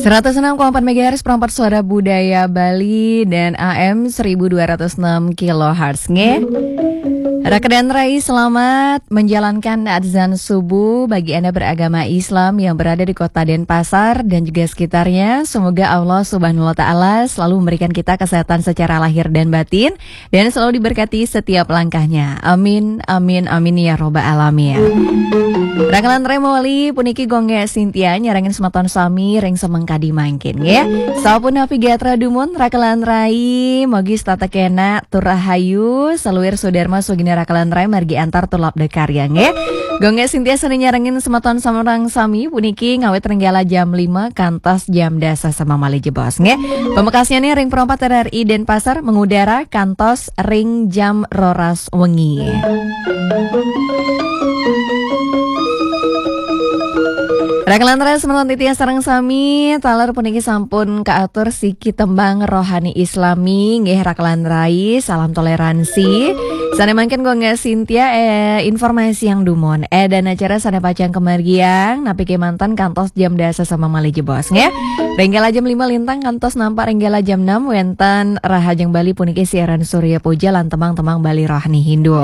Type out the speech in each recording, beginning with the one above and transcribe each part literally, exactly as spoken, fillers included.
Seratus enam koma empat megahertz, perempat suara budaya Bali dan A M seribu dua ratus enam kilohertz nggih. Raka dan Rai, selamat menjalankan azan subuh bagi Anda beragama Islam yang berada di kota Denpasar dan juga sekitarnya. Semoga Allah Subhanahu wa Ta'ala selalu memberikan kita kesehatan secara lahir dan batin dan selalu diberkati setiap langkahnya. Amin, amin, amin ya robbal alamin. Raka lan Rai mawali puniki Gung Gé Sintia nyarengin semeton sami ring semeng kadi mangkin nggih. Sapunapi gatra dumun Raka lan Rai, mogi setata kenak tur rahayu, saluir sudarma sugina Raka lan Rai margi antar tur labda karya nggih. Gung Gé Sintia sané nyarengin semeton sareng sami puniki ngawit ring galah jam lima kantos jam dasa semeng malih jebos nggih. Pamekasnyané ring perempat R R I Denpasar mengudara kantos ring jam roras wengi. Raka lan Rai, semeton titiang sareng sami, taler puniki sampun kaatur siki tembang rohani Islami nggih Raka lan Rai, salam toleransi. Sané mangkin Gung Gé Sintia, eh, informasi yang dumun. Eh, dan acara sané pacang kamargiang napi kémanten kantos jam dasa semeng malih jebos nggih. Ring galah jam lima lintang kantos nampak ring galah jam enam wénten Rahajeng Bali puniki siaran Surya Puja lan tembang-tembang Bali rohani Hindu.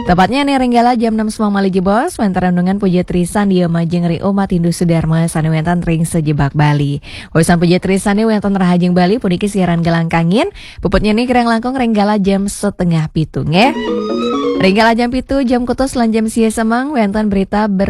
Tepatnya nih ring galah jam enam semeng malih jebos wénten renungan puja trisandia majeng ring umat Hindu Sudarma sané wénten ring sajebag Bali. Usan puja trisandia wénten Rahajeng Bali puniki siaran galang kangin. Puputnya nih kirang langkung ring galah jam setengah pitu nggih. Ring galah jam pitu, jam kutus lan jam sia semeng wénten berita ber-